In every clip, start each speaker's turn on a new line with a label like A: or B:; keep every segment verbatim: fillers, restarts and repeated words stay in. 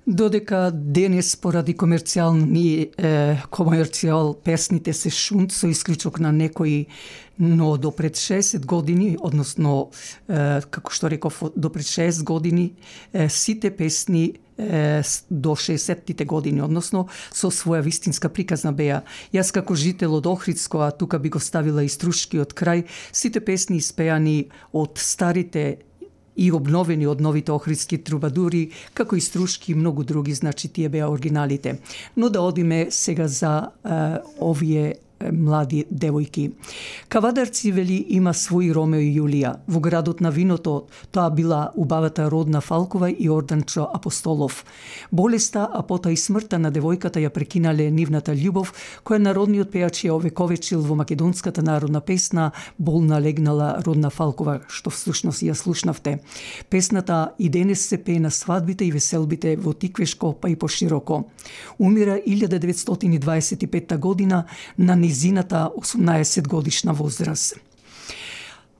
A: Додека денес поради комерцијални е, комерцијал песните се шунт со исклучок на некои, но до пред шесет години, односно е, како што реков до пред шест години, е, сите песни е, до шеесеттите години, односно со своја вистинска приказна беа. Јас како жител од Охридско, а тука би го ставила и Струшкиот крај, сите песни испеани од старите и обновени од новите охридски трубадури, како и Струшки и многу други, значи тие беа оригиналите. Но да одиме сега за е, овие млади девојки. Кавадарци, вели, има свој Ромео и Јулија. Во градот на виното тоа била убавата Родна Фалкова и Орданчо Апостолов. Болеста, а потоа и смртта на девојката ја прекинале нивната љубов, која народниот пејач ја овековечил во македонската народна песна Болна легнала Родна Фалкова, што всушност ја слушнавте. Песната и денес се пее на свадбите и веселбите во Тиквешко, па и пошироко. Умира илјада деветстотини и дваесет и петта година на низината осумнаесет годишна возраст.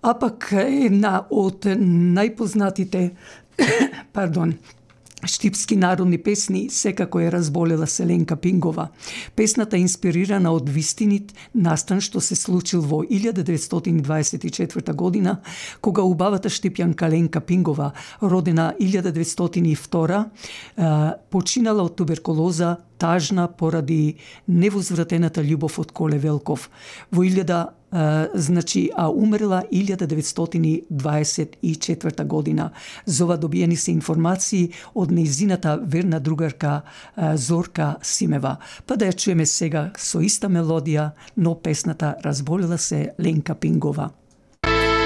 A: А пак една од најпознатите пардон, штипски народни песни секако е Разболела се Ленка Пингова. Песната е инспирирана од вистинит настан што се случил во илјада деветстотини дваесет и четврта година, кога убавата штипјанка Ленка Пингова, родена илјада деветстотини и втора, починала од туберкулоза, тажна поради невозвратената љубов од Коле Велков. Во илјада Uh, значи, а умрела илјада деветстотини дваесет и четврта година. За ова добиени се информации од нејзината верна другарка uh, Зорка Симева. Па да ја чуеме сега со иста мелодија, но песната Разболела се Ленка Пингова.